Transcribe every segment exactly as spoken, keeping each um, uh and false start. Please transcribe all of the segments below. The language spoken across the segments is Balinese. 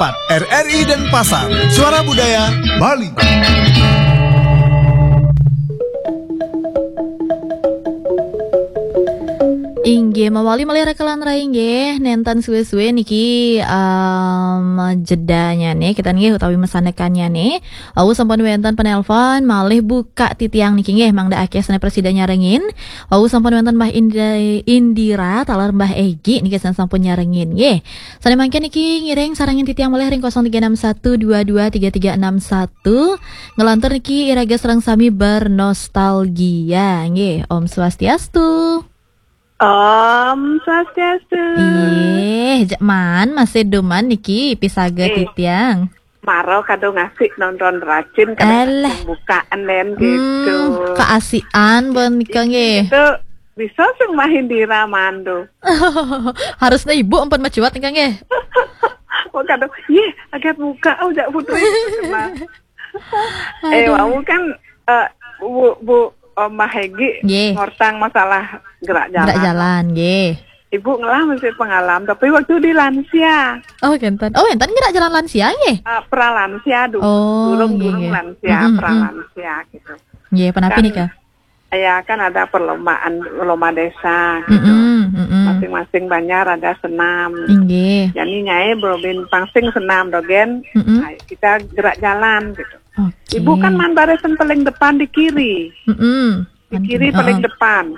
empat. R R I Denpasar, Suara Budaya Bali. Inggih, mawali malih raka lan rai inggih, nénten suwé-suwé niki, em, jedanya nih, kita nggih utawi mesanekannya nih. Wau sampun wénten penelpon, malih buka titiang niki nggih, mangda akéh sané prasida nyarengin. Wau sampun wénten Mbah Indi-, Indira, taler Mbah Egi niki sané sampun nyarengin nggih. Sané mangkin niki ngiring sarengin titiang malih ring kosong tiga enam satu dua dua tiga tiga enam satu. Ngelantur niki iraga sareng sami bernostalgia nggih. Om Swastiastu. Om Swastiastu. Ih, jak man masih duman niki pisaga Eh. titiang. Maro kado ngasih nonton racin kado Alah. Bukaan dan gitu. Hmm, keasian bon nika nggih. Itu bisa sing mahin diramandu. Harusnya ibu ampun majuat nika nggih. Oh kado, iya agak buka oh jak putri. Nah. Eh Aduh. Wau kan eh, Bu Bu Omah Hegi Nggih. Ngorsang masalah gerak jalan. Gerak jalan nggih. Ibu ngelah masih pengalam tapi waktu di lansia. Oh kenten. Oh enten gerak jalan lansia nggih. Uh, pra lansia dulu. Oh, durung nggih, durung nggih. Lansia, mm-mm, pra mm. Lansia gitu. Nggih, penapi kan, nika? Ya kan ada perlombaan lomba desa gitu. Mm-mm, mm-mm. Masing-masing banjar ada senam. Nggih. Jadi nyai berobin pangsing senam dogen. Mm-mm. Nah, kita gerak jalan gitu. Oke. Ibu kan mandaresen paling depan di kiri. Mm-mm. Di kiri paling depan.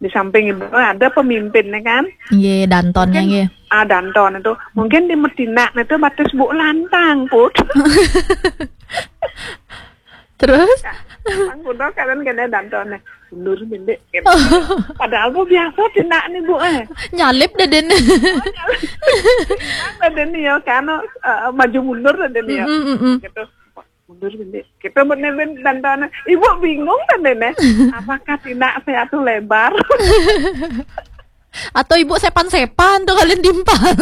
Di samping ibu ada pemimpinnya kan? Iya, dantonnya nggih. Ah, danton itu. Mungkin di Medina itu batas bu lantang, Put. Terus? Lantang kuda kalian kena dantonnya. Mundur mindik gitu. Padahal bu biasa tindak nih bu eh. Nyalip deh den. Ada nih ya kan eh, maju mundur deh nih ya. Mm, mm, mm. Gitu. Mundur bini. Kita menelin dan tanah. Ibu bingung kan dene. Apakah tindak saya tuh lebar? Atau ibu sepan-sepan tuh kalian timpal?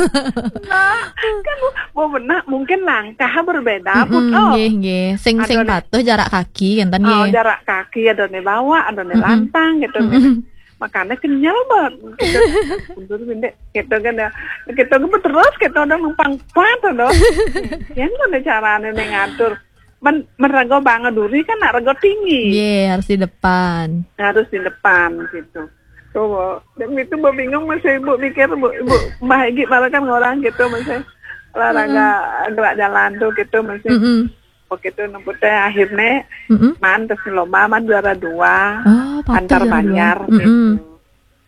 Nah, kan bu, bu benar mungkin langkah berbeda. Mm-mm, pun oh. Nggih, nggih. Sing sing patuh jarak kaki kan tadi. Oh, jarak kaki ada nih bawa, ada nih lantang gitu. Mm-mm. Makanya kenyal banget. Gitu. Mundur bini. Gitu kan ya. Gitu kan terus kita udah numpang kuat tuh. Yang mana caranya nih ngatur? Men, men rego bangun duri kan nak rego tinggi. Iya, harus di depan. Harus di depan gitu. Tuh, dan itu bu bingung masih ibu mikir bu, ibu Mbah Egi malah kan orang gitu masih olahraga gerak jalan tuh gitu masih. Mm-mm. Begitu nempute akhirnya mm-mm. Man terus lomba man juara dua oh, antar banjar gitu. Mm-mm.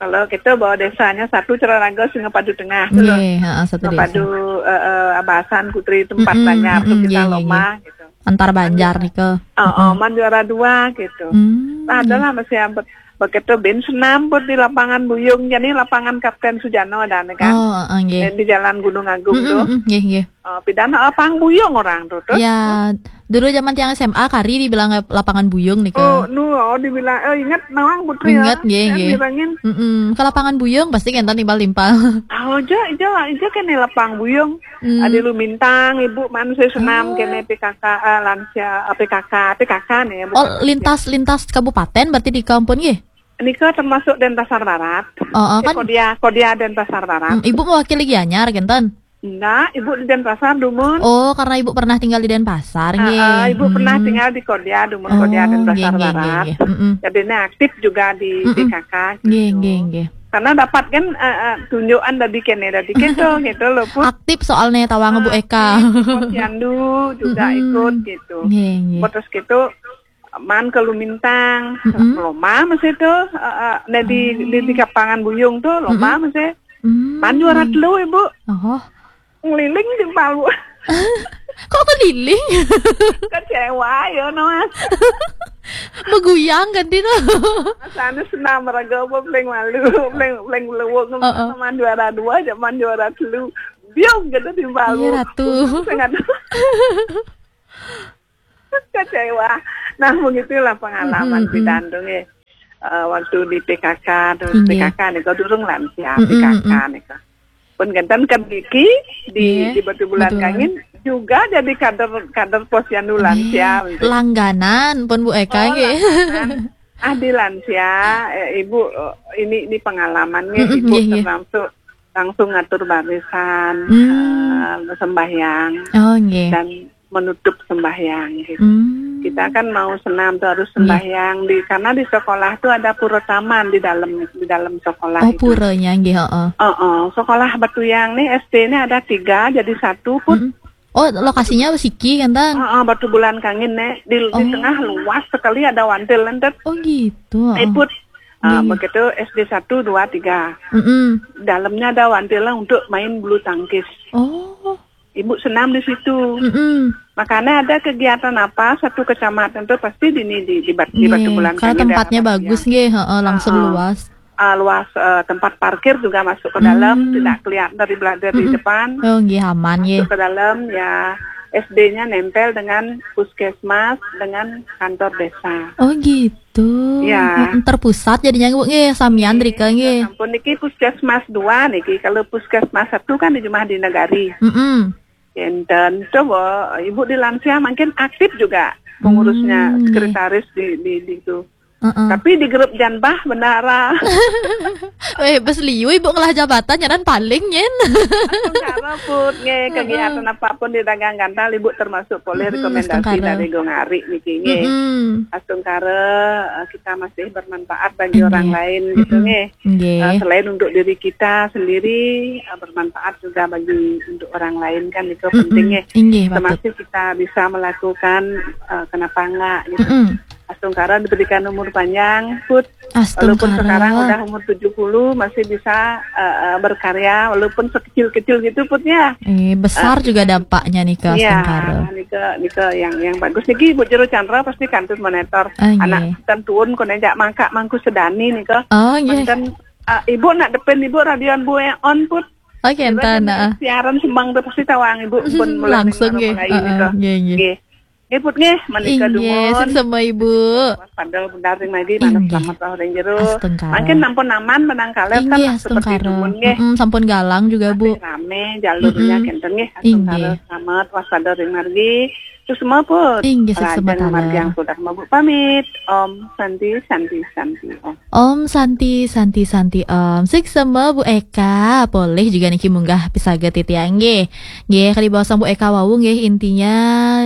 Kalau kita bawa desanya satu Ceraraga Singapadu Tengah tuh loh. Nggih, heeh, satu desa. Singapadu eh, eh, Abasan Kutri tempat mm-mm, banyak mm-mm, tuh kita nggih, lomba nggih. Gitu. Antar banjar nika. Oh, oh, man juara dua gitu. Hmm. Nah, adalah masih ampun begitu bin senam pun di lapangan Buyung jadi lapangan Kapten Sujano ada nih kan. Oh, uh, nggih. Di Jalan Gunung Agung mm-mm, tuh. Mm-mm, nggih, nggih. Uh, pidana lapangan Buyung orang tuh tuh. Ya, dulu zaman tiang S M A kari dibilang lapangan Buyung nih. Oh, nu, oh dibilang oh ingat nawang putri ingat, ya. Ingat nggih, nggih. Bilangin. Mm-mm. Ke lapangan Buyung pasti kan timbal timpal. Oh, jo, jo, jo kan nih lapangan Buyung. Hmm. Ada lu mintang ibu manusia senam oh. Kene P K K uh, lansia uh, P K K P K K nih. Oh, lintas lintas kabupaten berarti di kampung nggih. Nika termasuk Denpasar Barat. Oh, oh kan. Kodia, Kodia Denpasar Barat. Hmm, ibu mewakili Gianyar kenten. Enggak, ibu di Denpasar Dumun. Oh, karena ibu pernah tinggal di Denpasar, nggih. Uh, ibu hmm. Pernah tinggal di Kodia Dumun, oh, Kodia Denpasar nggih, Barat. Nggih, nggih. Mm-mm. Jadi ini aktif juga di mm-mm. P K K gitu. Nggih, nggih, nggih. Karena dapat kan uh, uh, tunjukan dari kene dari kita gitu loh pun. Aktif soalnya tawang Bu Eka. Posyandu juga mm-mm. Ikut gitu. Nggih, nggih. Terus gitu man ke Lumintang, mm-mm. Loma masih tuh uh, uh, di, di, di kapangan Buyung tuh loma mm-mm. Masih mm. Man juara telu ibu oh. Ngeliling di Palu. Kok keliling? Kecewa ya no mas. Beguyang kan dino. Sana senam raga apa paling malu, paling paling lewok uh-uh. Man juara dua zaman juara telu. Biung gitu di Palu. Iya ratu. Sangat kecewa. Nah, begitulah pengalaman mm-hmm. Di Dandung ya. Uh, waktu di P K K terus P K K nih kau durung lansia mm-hmm. P K K nih kau. Pun kenten kan Diki di, yeah, di Batu Bulan Kangin juga jadi kader kader posyandu lansia. Langganan pun Bu Eka oh, nggih. Ah di lansia eh, Ibu eh, ini ini pengalamannya mm-hmm, Ibu yeah, termasuk langsung ngatur barisan, Hmm. eh, sembahyang Oh, nggih. dan menutup sembahyang gitu. Hmm. Kita kan mau senam tuh harus sembahyang di, karena di sekolah tuh ada pura taman di dalam, di dalam sekolah Oh, itu. Puranya nggih, heeh. Heeh, sekolah Batuyang nih S D ini ada tiga jadi satu pun. Mm-mm. Oh, lokasinya siki kan, Tan? Heeh, Batubulan Kangin nih di, di Oh. tengah luas sekali ada wantil lentet. Oh, gitu. Heeh. Iput. Ah, Iya. Begitu S D satu, dua, tiga. Mm-mm. Dalamnya ada wantilnya untuk main bulu tangkis. Oh. Ibu senam di situ. Mm-mm. Makanya ada kegiatan apa satu kecamatan tuh pasti di ini di di, Bat- di Nggih, Batubulan karena Kangin, tempatnya daerah bagus Batuyang. nggih, heeh, langsung Heeh. luas. Ah, luas, eh, tempat parkir juga masuk ke dalam, Hmm. tidak kelihatan dari bela- dari Mm-mm. depan. Oh, nggih, aman nggih. Masuk ke dalam ya, S D-nya nempel dengan puskesmas, dengan kantor desa. Oh, gitu. Ya. Mm-mm, terpusat jadinya, Bu, nggih, samian rika nggih. Sampun niki puskesmas dua niki. Kalau puskesmas satu kan di Jumah di Negari. Mm-mm. Enten coba ibu di lansia makin aktif juga pengurusnya, Hmm, nggih. Sekretaris di di di itu. Heeh. Tapi di grup janbah bendara. Eh, bes liu ibu ngelah jabatan nyaran paling nyen. Astung karo put nggih, kegiatan apapun di dagang gantal ibu termasuk polih Mm-mm, rekomendasi astung karo. Dari Gong Ari niki nggih. Mm-mm. Astung karo, eh, kita masih bermanfaat bagi Nggih. Orang lain gitu Mm-mm. nggih. Nggih. Eh, selain untuk diri kita sendiri, eh, bermanfaat juga bagi untuk orang lain kan itu Mm-mm. Penting nggih. Inggih, patut. Termasuk kita bisa melakukan, eh, kenapa enggak gitu. Mm-mm. Astung karo diberikan umur panjang, Put. Astung Walaupun karo. Sekarang udah umur tujuh puluh masih bisa, eh, eh, berkarya walaupun sekecil-kecil gitu, Put ya. Eh, besar juga dampaknya nih ke Iya, Astung karo. Nika nika yang yang bagus niki Ibu Jero Chandra pasti kantun monitor. Ah, nggih. Anak ten tuun kone jak mangkak mangku sedani nika. Oh, nggih. Manten, eh, Ibu nak depan Ibu radion Bu yang on, Put. Oke, enten, heeh. Siaran sembang tuh pasti tawang Ibu pun mulai Langsung ning nggih. mulai Heeh, nika. nggih, nggih. Nggih. Nggih, Put nggih, menika Inggih, dumun. Sik sama Ibu. Padahal benar ring margi manut Inggih. Selamat Wah Ring Jero. Astung karo. Mangkin nampun aman menang kalih kan Inggih, seperti Astung karo. dumun nggih. Mm-mm, sampun galang juga, Bu. Rame jalurnya Mm-mm. kenten nggih, Astung Inggih. Karo selamat waspada ring margi. Terus semua pun. Inggih, sik Lajeng sebatala. Margi yang sudah mabuk pamit. Om Santi, Santi, Santi, Om. Om Santi, Santi, Santi, Om. Sik sama Bu Eka, polih juga niki munggah pisaget titiang nggih. Nggih, kali bawasang Bu Eka wau nggih, intinya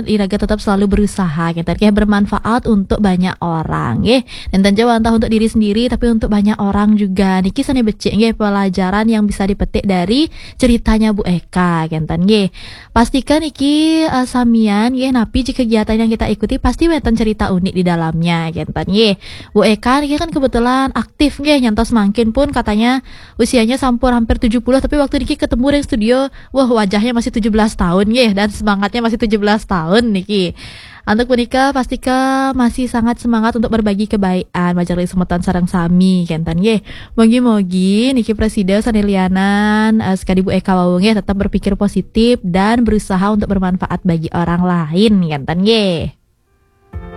iraga tetap selalu berusaha, gitu. Kayak bermanfaat untuk banyak orang nggih. Dan tentu wantah untuk diri sendiri, tapi untuk banyak orang juga. Niki sane becik nggih pelajaran yang bisa dipetik dari ceritanya Bu Eka, kenten nggih. Pastikan niki, eh, samian nggih, napi ji kegiatan yang kita ikuti pasti wenten cerita unik di dalamnya, kenten nggih. Bu Eka niki kan kebetulan aktif nggih, nyantos mangkin pun katanya usianya sampun hampir tujuh puluh, tapi waktu niki ketemu ring studio, wah, wajahnya masih tujuh belas tahun nggih, dan semangatnya masih tujuh belas tahun niki. Untuk menikah, pastika masih sangat semangat untuk berbagi kebaikan, majeng ring semeton sareng sami, kenten nggih. Mogi-mogi niki prasida sane lianan, eh, sekadi Bu Eka wau nggih, tetap berpikir positif dan berusaha untuk bermanfaat bagi orang lain, kenten nggih.